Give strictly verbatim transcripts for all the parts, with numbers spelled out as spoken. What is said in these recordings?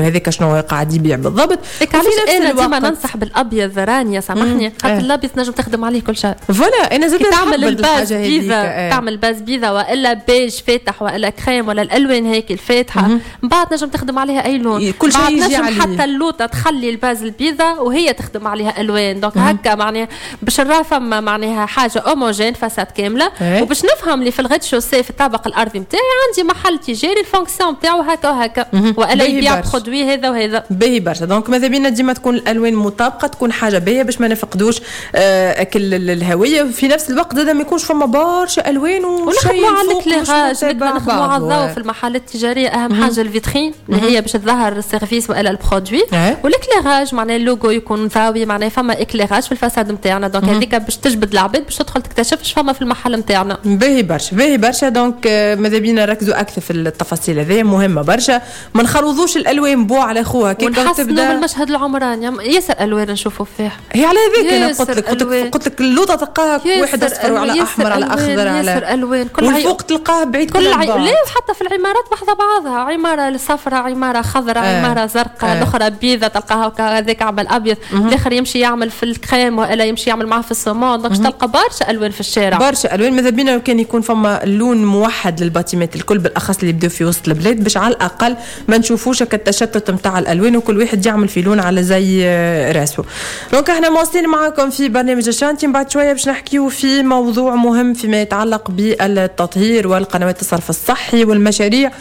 هذاك شنو قاعد يبيع بالضبط. علاش انا ديما ننصح بالابيض رانيا، سامحني، خاطر الابيض تنجم تخدم عليه كل شيء. voilà، انا زاد تعمل ال base بيضة، اه. تعمل base بيضة والا بيج فاتح والا كريم ولا الالوان هيك الفاتحه، من بعد تنجم تخدم عليها اي لون. كل شيء يجي نجم عليه. حتى اللوطه تخلي ال base البيضة وهي تخدم عليها الوان، donc هكا معناها باش نرى فما معناها حاجة homogène، façade كامله، ايه. وباش نفهم اللي في ال rez-de-chaussée، في الطابق الارضي نتاعي، عندي محل تجاري ال fonction نتاعو هكا وهكا، والا يبيع produit هذا وهذا. باهي برشا. donc ماذا بينا ديما تكون الالوان مطابقه، تكون حاجة باهيه باش ما نفقدوش آه كل الهويه. في نفس الوقت زاد ما يكونش فما برشا الوان. وشيء على l'éclairage، نخدموا على الضوء في المحلات التجاريه. اهم حاجة الفيترين اللي هي باش تظهر ال service والا ال produit، و l'éclairage، معناها اللوجو يكون ضاوي، معناها فما éclairage في ال façade نتاعنا، donc هذيك باش تجبد العباد باش تدخل تكتشف اش فما في المحل نتاعنا. باهي برشا، باهي برشا. donc ماذا بينا نركزوا اكثر في التفاصيل هذه، مهمة برشا، ما نخلطوش الالوان بو على خوها. كي تبدا المشهد العمراني ياسر الوان نشوفوا فيه. هي على هذاك انا قلت لك قلت لك قلت لك اللوطه تلقاها واحد اصفر على احمر على اخضر على ياسر الوان. كل والفوق تلقاه بعيد. كل عي... لا، حتى في العمارات بحذا بعضها، عمارة صفراء، عمارة خضراء، آه. عمارة زرقاء، آه. الاخرى بيضة تلقاها هذاك عمل ابيض، الاخر يمشي يعمل في الكريم والا يمشي يعمل معاه في ال saumon، donc تلقى برشا الوان في الشارع. برشا الوان. ماذا بينا لو كان يكون فما لون موحد لل bâtiment الكل، بالاخص اللي يبداو في وسط البلاد، باش على الاقل ما نشوفوش التشتت نتاع الالوان وكل واحد يعمل في لون على زي راسه. donc احنا مواصلين معاكم في برنامج ال chantier. بعد شوية باش نحكيو في موضوع مهم فيما يتعلق بالتطهير والقنوات الصرف الصحي والمشاريع،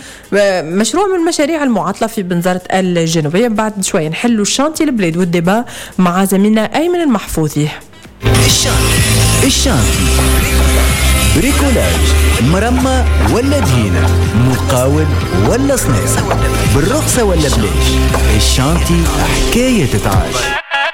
مشروع من المشاريع المعطلة في بنزرت الجنوبيه. بعد شوية نحلوا ال chantier البلاد وال débat مع زميلنا ايمن المحفوظي. ال chantier، ال chantier، bricolage، مرمى ولا دهينة، مقاول ولا صنايعي، بالرخصة ولا بلاش، ال chantier حكاية تتعاش.